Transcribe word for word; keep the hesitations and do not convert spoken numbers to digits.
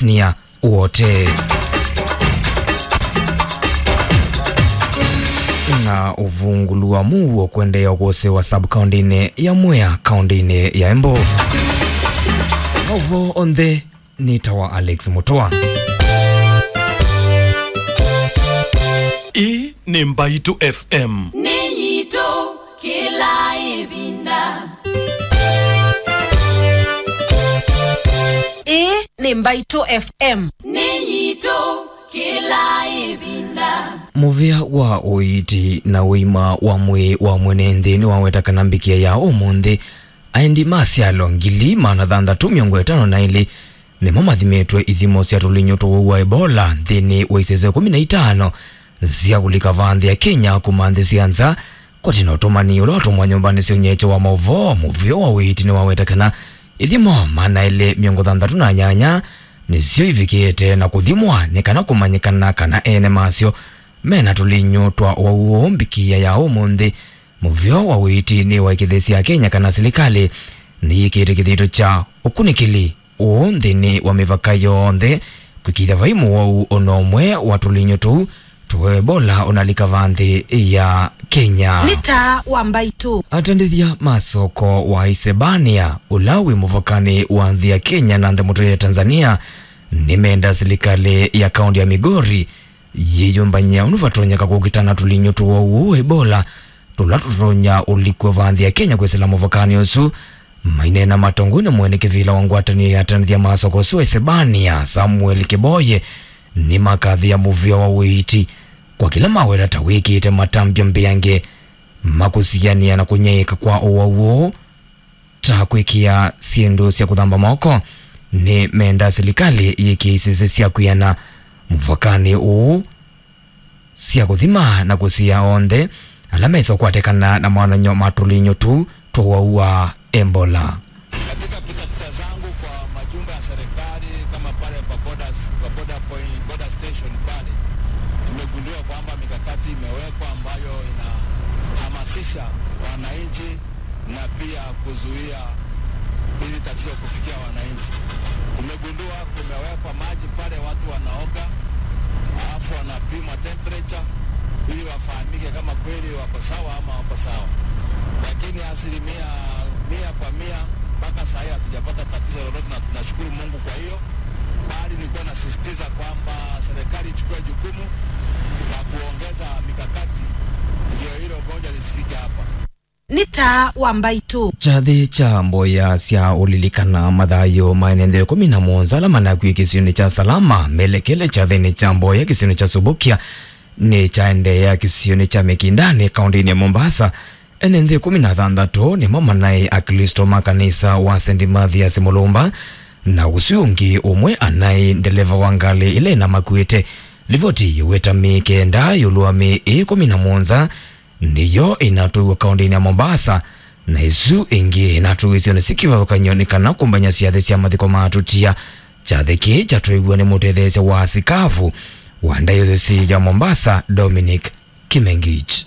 Nia wote. Na ũvungũlu wa mũuo kũendeea kũsewa sub-kaũntĩnĩ ya Mwea, kaũntĩnĩ ya Embu. Maũvoo onthe nĩ ta wa Alex Mũtũa. Ĩĩ nĩ Mbaitũ F M. Nĩ yitũ kĩla ĩvinda. Ĩĩ nĩ Mbaitũ F M. Nĩ yitũ kĩla ĩvinda. Mũvĩa wa ũiiti na ũima wa mwĩĩ wa mwene nthĩ nĩwaweta kana mbikĩa ya ũmũnthĩ, aendi ma syalo ngili maana thanthatũ mĩongo ĩtano na ilĩ nĩmo mathimĩtwe ithimo sya tũlinyũ twa ũwau wa Ebola nthĩnĩ wa isese kũmi na itano sya kũlika vaa nthĩ ya Kenya kuma nthĩ sya nza. Kwati na ũtũmani ũla watũmwa nyũmbanĩ sya ũnyaĩĩkyo wa maũvoo, mũvĩa wa ũiiti nĩwaweta kana ithimo maana elĩ mĩongo thanthatũ na nyanya nĩsyo ivikĩte na kũthimwa nĩ kana kũmanyĩkana kana ene masyo mena tũlinyũ twa ũwau ũũ. Mbikĩa ya ũmũnthĩ, mũvĩa wa ũiiti nĩwaĩkĩĩthya Akenya kana silikalĩ nĩyĩkĩte kĩthito kya ũkunĩkĩli ũũ nthĩnĩ wa mĩvaka yonthe, kwĩkĩĩthya vai mũwau o na ũmwe wa tũlinyũ tũu twa Ebola ũnalika vaa nthĩ ya Kenya. Nĩ taa wa Mbaitũ. Atandĩthya ma soko wa Isebania, ũla wĩ mũvakanĩ wa nthĩ ya Kenya na nthĩ mũtũĩ ya Tanzania, nĩmenda silikalĩ ya kaũntĩ ya Migori yĩyũmbany'a ũndũ vatonyeka kũkitana tũlinyũ twa ũwau wa Ebola tũla tũtonya ũlikw'a vaa nthĩ ya Kenya kwĩsĩla mũvakanĩ ũsu. Maineena matongoew'e nĩ mwene kĩvĩla wa ngwatanĩo ya atandĩthya ma soko ũsu wa Isebania, Samuel Kiboye, nĩmakathĩa mũvĩa wa ũiiti kwa kĩla maweta ta wĩkĩĩte matambya mbeange ma kũsianĩa na kũnyaĩĩka kwa ũwau ũũ, ta kwĩkĩa syĩndũ sya kũthamba moko. Nĩmenda silikalĩ yĩkĩe isese sya kwĩana mũvakanĩ ũũ sya kũthima na kũsiĩĩa onthe ala mesa ũkwatĩkana na mawonany'o ma tũlinyũ tũu twa ũwau wa Ebola. Katika pitapita zangu kwa majumba ya serikali kama pale kwa borders, kwa border point, border station pale, tumegundua kwamba mikakati imewekwa ambayo inahamasisha wananchi na pia kuzuia hili tatizo kufikia wananchi. Tumegundua kumewekwa maji pale watu wanaoga, alafu wanapimwa temperature ili wafahamike kama kweli wako sawa ama wako sawa. Lakini asilimia mia kwa mia mpaka saa hii hatujapata tatizo lolote, na tunashukuru Mungu kwa hiyo, bali nilikuwa nasisitiza kwamba serikali ichukue jukumu la kuongeza mikakati ndio hilo ugonjwa lisifike hapa. Nĩ taa wa Mbaitũ. Kyathĩ kya mboya sya ũlilikana mathayũ ma ene nthĩ ĩkũmi na mũonza ala manakw'e kĩsionĩ kya Salama melekele kyathĩnĩ kya mboya kĩsionĩ kya Subukia nĩkyaendeea kĩsionĩ kya Mikindani, kaũntĩnĩ ya Mombasa. Ene nthĩ ĩkũmi na thanthatũ nĩmo manaĩ Aklĩsto ma kanisa wa Saint Mathias Mulumba, na ũsu ũngĩ ũmwe anaĩ ndeleva wa ngalĩ ĩla ĩnamakuĩte. Livoti yĩweta mĩĩ kenda ĩũlũ wa mĩĩ ĩĩ ĩkũmi na mũonza nĩyo ĩnatũiwe kaũntĩnĩ ya Mombasa, na ĩsu ĩngĩ ĩnatũiwe isionĩ syĩ kĩvathũkany'o nĩ kana kũmbany'a syathĩ sya mathiko ma atũtia. Kyathĩ kĩĩ kyatwaiw'e nĩ mũtetheesya wa asikavu wa ndayosisi ya Mombasa, Dominic Kimengich.